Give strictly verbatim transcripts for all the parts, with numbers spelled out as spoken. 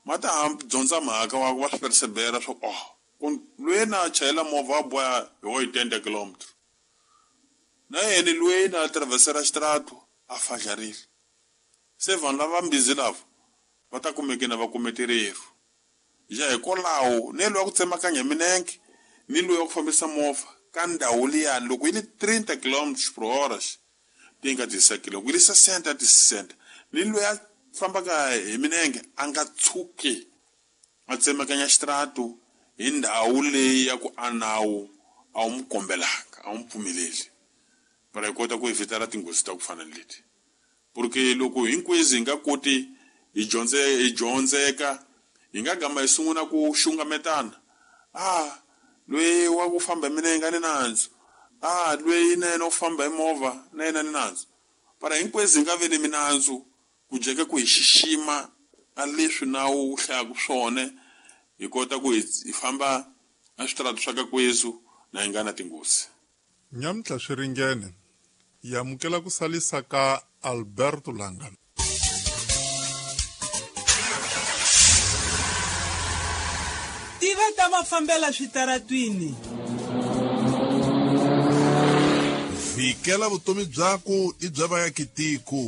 Ma ta dyondza mhaka wa va swi persevera swa ku oh loyi na chayela movha wa boha hi oitenta kilometro na yena loyi na atravesera xitaratu a fadlarile se vanhu lava mbizi lava va ta kumeke na va kume tirheru ja hikwalaho ni loyi wa ku tsemakanya minenge ni loyi wa ku fambisa movha ka ndhawu liyani loko yi li trinta kilometros por hora ti nga tisekile loko yi li sessenta ti sessenta ni loyi a fambaka hi minenge a nga tshuki a tsemakanya xitaratu hi ndhawu leyi ya ku a nawu a wu n'wi kombelanga a wu n'wi pfumeleli para hi kota ku evitara tinghozi ta ku fana ni leti porque loko hinkwezi hi nga koti hi dyondze hi dyondzeka hi nga gama hi sungula ku xungametana ah loyi wa ku famba hi minenge a ni nandzu ah loyi na yena u famba hi movha na yena ni nandzu para hinkwezi hi nga vi ni minandzu ku jeka ku hi xixima a leswi nawu wu hlayaka swona hi kota ku hi famba a switaratu swa ka kwezu na hi nga na tinghozi. Nyamutlha swi ringene hi amukela ku salisa ka Alberto Langa. Tiva ta mafambela switaratwini. Vikela vutomi byaku i bya vaakitiko.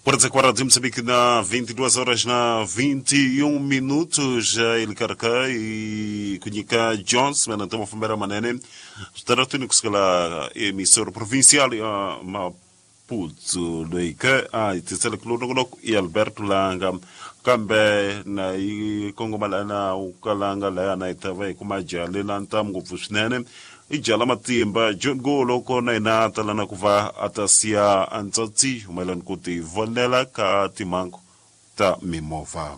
Por de Moçambique na vinte e duas horas na vinte e um minutos ele carca e Kunhika Jones mena tamo fambera manene staratuni kusukela emissora provincial ya Maputo loika a tisela kulonoko e Alberto Langa kambe na i kongomala na ukalanga la na itava kuma jale na ntamu ngopfu swinene i jala matimba John Golo kona ina talana kuva atasia antsatsi umelani kuti vonela ka timango ta mimovha.